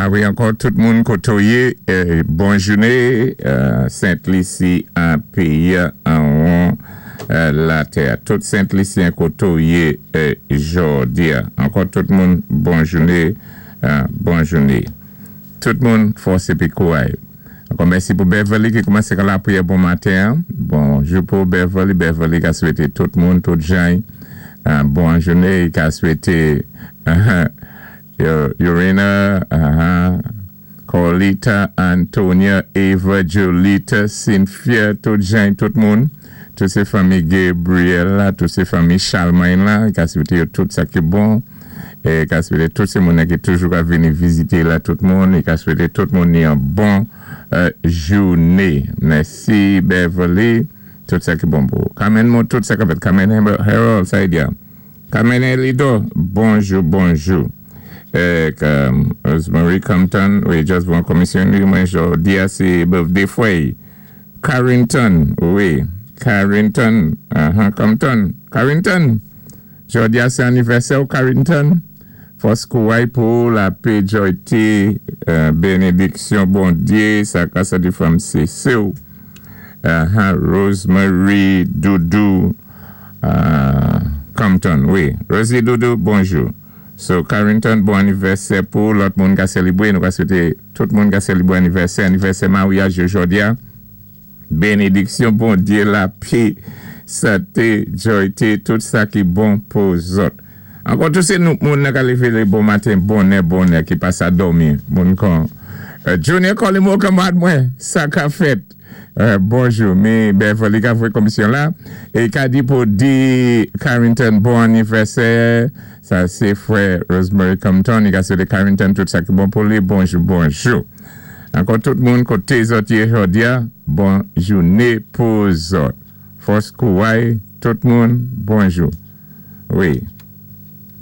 A wi, ankò tout moun koté ou yé, bon jouné, Sent Lisi an péyi an latè. Tout Sent Lisyen koté ou yé jòdi-a. Ankò tout moun, bon jouné, bon jouné. Tout moun, fòs épi kouray. Ankò mèsi pou Beverly ki koumansé kan lapriyè bon maten. Bonjou pou Beverly. Beverly ka swété tout moun, tout jan, bon jouné. Ka swété Urena, Corlita, Antonia, Eva, Jolita, Cynthia, tout jan, tout moun. Tout sé fanmi Gabriel la, tout sé fanmi Charlemagne la, ka swété yo tout sa ki bon. É ka swété tout sé moun ki toujou ka vini vizité la tout moun, é ka swété tout moun ni yon bon jouné. Mèsi Beverly, tout sa ki bon pou. Carmen moun tout sa ka fèt. Carmen Harold, sa y di. Carmen Elido, bonjou, bonjou. É Rosemary Compton, wi, just bon komisyon mwen jòdi sé birthday fwè. Carrington, wi, Carrington, Compton, Carrington. Jòdi sé anivèsè Carrington. Fòs kouray pou lapè, jòyté, bénédiksyon Bondyé, sa ka sa di fanm sé sou. Rosemary Doudou Compton, wi. Rosie Doudou, bonjou. So, Carrington, bon anivèsè pou lòt moun ka sélébwé. Nou ka swété tout moun ka sélébwé anivèsè, anivèsè maryaj jòdi. Bénédiksyon Bondyé, lapè, santé, jòyté, tout sa ki bon pou zòt. Ankò tout sé nou moun ka lévé bon maten, bonè, bonè, ki pa sa dòmi. Moun kon Junior Colimo kanmwad mwen, sa ka fèt. Bonjou, mi Beverly ka voyé komisyon la. É ka di pou di Carrington bon anivèsè. Sa sé fwè Rosemary Compton. I ka swété Carrington tout sa ki bon pou li. Bonjou, bonjou. Ankò tout moun koté zòt yé jòdi-a, bon jouné pou zòt. Fòs kouray, tout moun, bonjou. Wi.